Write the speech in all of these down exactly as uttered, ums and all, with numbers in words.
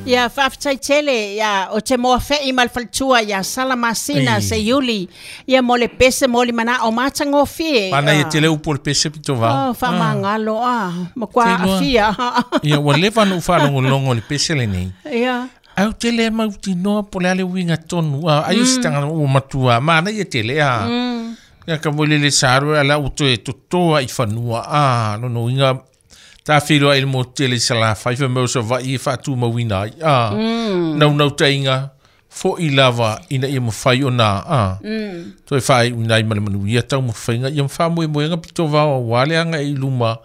Ia faafetai tele ia o te moa fe'i ma le faletua ia Salamasina Ei. Seiuli ia mo le pese mo le mana'o matagofie. Pana ia tele upu o le pese pito vao. Oh, faamagalo a makuā Te iloa. afia. Ia ua leva na ou faalogologo i le pese lenei. Ia. Au te le mautinoa po le a le uiga tonu a ai o se tagata ua matua manaia tele a. Ia ka mo le le sa alo ala ua toe totoa i fanua a lona uiga tafeiloai i le motu tele i Salafai fai mai o Savaii e faatumauina ai a. Naunautaiga fo'i lava ina ia mafai ona a. Toe faaiuina ai ma le manuia taumafaiga ia ma faamoemoega pito vao auā le aga'i i luma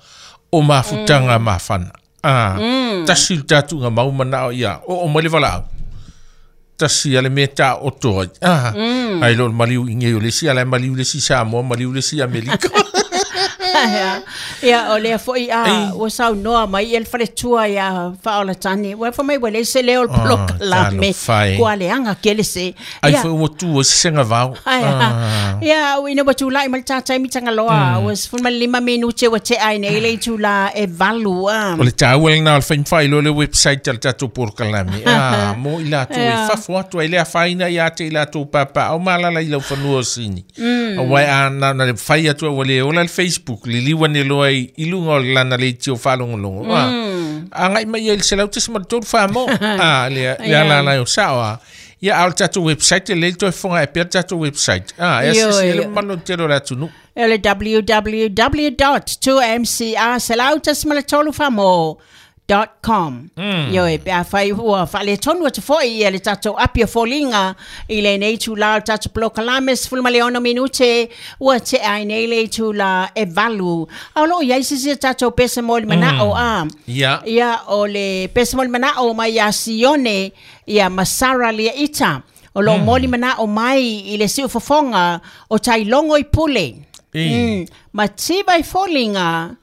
o mafutaga mafana. A tasi le tatuga mau manao ia oo mai le valaau. Tasi a le mea taoto ai. A ai lo le maliu i nei o le isi ala e maliu le isi Samoa maliu le isi Amerika. Ia, ia o lea fo'i a Ei. ua saunoa mai ia le faletua ia Faaolatani ua fa mai ua leai se leo o le polokalame talofa e. kua leaga kele se. Ai Ia foi ua tu ai se sega vao. Ai, Ah. ia, ina ua tulai ma le tātai mitagaloa, ua sefulu ma le lima minute ua tea ai nei le itulā e valu a. O le taua lena o le faimafailoa le website a le tatou polokalame. Ah, mo i latou e fafo atu ai le afaina ia te i latou papaao ma alaala i laufanua o Sini. Auā a na na le fai atu ai ua le ola le Facebook, liliu ane loa i i luga o lana leitio faalogologo. Ah, aga'i mai ai i le selau tasi ma le tolu famo. Ah, le le ala ala o sao a. Ia a o le tatou website e lei toe fofoga e pea le tatou website. Ah, e Ioe. asisi ai le mamalu tele o le atunuu. O le w w w dot two m c r selau tasi ma le tolu famo dot com. Mm. Ioe, pe afai ua faaletonu atu fo'i ia le tatou api o foliga i lenei itulā o le tatou polokalame sefulu ma le ono minute ua tea ai nei le itulā e valu. A o loo iai sisi a tatou pese mo le mana'o a. Ia. Ia o le pese mo le mana'o mai ia Sione ia Masara lia ita. O loo moli mana'o mai i le siufofoga o tailogo i pule. Ei. Mm. Mativa i foliga.